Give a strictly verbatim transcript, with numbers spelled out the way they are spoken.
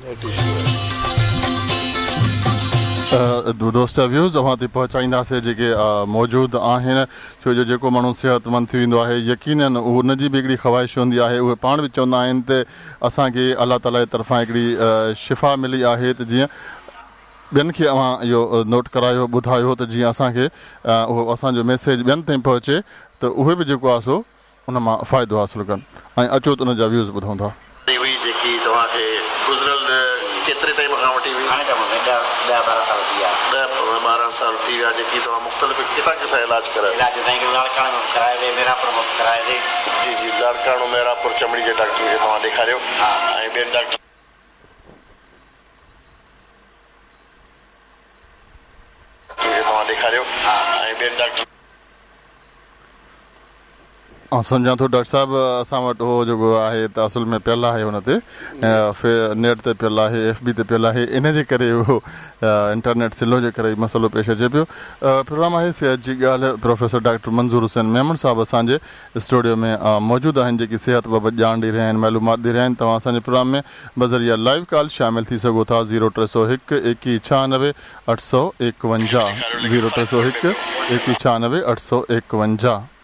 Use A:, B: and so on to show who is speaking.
A: Head issue آهي.
B: دوست جا ويوز اوهان تائين پهچائينداسين جيڪي موجود آهن، ڇو جو جيڪو ماڻهو صحتمند ٿي ويندو آهي يقينن ان جي به هڪڙي خواهش هوندي آهي. اهي پاڻ به چوندا آهن ته اسان کي الله تعالي جي طرفان هڪڙي شفا ملي آهي ته جيئن ٻين کي اوهان اهو نوٽ ڪرايو، ٻڌايو ته جيئن اسان کي اهو اسان جو ميسيج ٻين تائين پهچي ته اهي به جيڪو آهي سو ان مان فائدو حاصل ڪن ۽ اچو ته ان جا ويوز ٻڌون ٿا.
C: هئي جيڪي توهان کي گذريل ڪيتري ٽائيم کان وٺي هئي؟
D: گهڻي ٽائيم کان ڏهه ڏهه ٻارهن سال ٿي ويا.
C: ڏهه ٻارهن سال ٿي ويا جيڪي توهان مختلف ڪٿان ڪٿان علاج ڪرايو؟
D: علاج سائين لاڙڪاڻي ۾ به ڪرايوسين، ميرانپور ۾ به ڪرايوسين.
C: جي جي لاڙڪاڻو ميرانپور چمڙي جي ڊاڪٽرن کي توهان ڏيکاريو ۽ ٻين ڊاڪٽرن کي توهان ڏيکاريو ۽ ٻين ڊاڪٽرن
B: آئون سمجهان ٿو ڊاڪٽر صاحب اسان وٽ اهو جيڪو آهي ته اصل ۾ پيل آهي ان تي نيٽ تي پيل آهي، ايف بي تي پيل آهي، ان جي ڪري اهو انٽرنيٽ سلو جي ڪري مسئلو پيش اچي پيو. پروگرام آهي صحت جي ڳالهه، پروفيسر ڊاڪٽر منظور حسين ميمڻ صاحب اسان جي اسٽوڊيو ۾ موجود آهن جيڪي صحت بابت ڄاڻ ڏئي رهيا آهن، معلومات ڏئي رهيا آهن. توهان اسان جي پروگرام ۾ بذريعه لائيو ڪال شامل ٿي سگهو ٿا زيرو ٽي سؤ هڪ ايڪيهه ڇهانوي اٺ سؤ ايڪونجاهه، زيرو ٽي سؤ هڪ ايڪيهه ڇهانوي اٺ سؤ ايڪونجاهه.